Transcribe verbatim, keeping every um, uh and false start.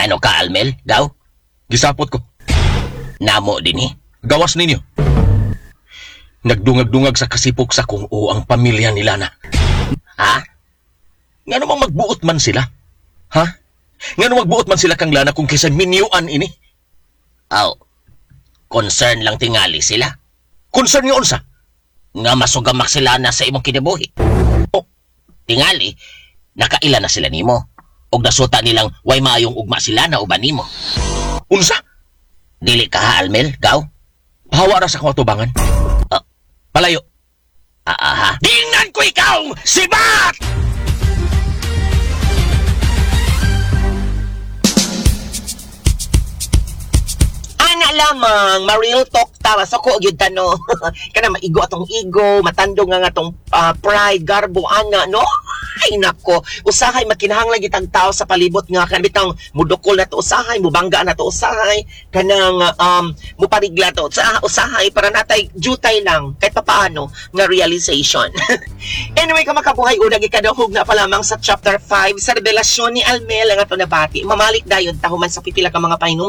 Ano ka, Almel? Gaw? Gisapot ko. Namo din eh. Gawas ninyo. Nagdungag-dungag sa kasipok sa kung o ang pamilya nila na. Ha? Nga namang magbuot man sila? Ha? Nga namang magbuot man sila kang Lana kung kaysa minyuan ini? Aw. Concern lang tingali sila. Concern nga unsa? Nga masugamak sila na sa imong kinabuhi. Oh, Tingali, nakaila na sila nimo. Og nasuta nilang way maayong ugma sila na uban nimo. Unsa? Dili ka ha, Almel? Gaw? Pahawa ra sa akong atubangan. Ah. Palayo. Ah, aha. Tingnan ko ikaw, sibat! Ana lamang, ma-real talk ta, masoko gyud ta no. Kana maigo atong ego, matandog nga nga atong ah, pride, garbo ana no. Ay nako, usahay makinahanglan gyud ang tao sa palibot nga kan bitang mudukol na to usahay, mubangga na to usahay, kanang um muparigla to sa usahay para natay jutay lang kahit papaano nga realization. Anyway, kamakabuhay una gikadahog na pa lamang sa chapter five sa revelasyon ni Almel ang ato nabati. Mamalik dayon tahuman sa pipila ka mga pahinumdum.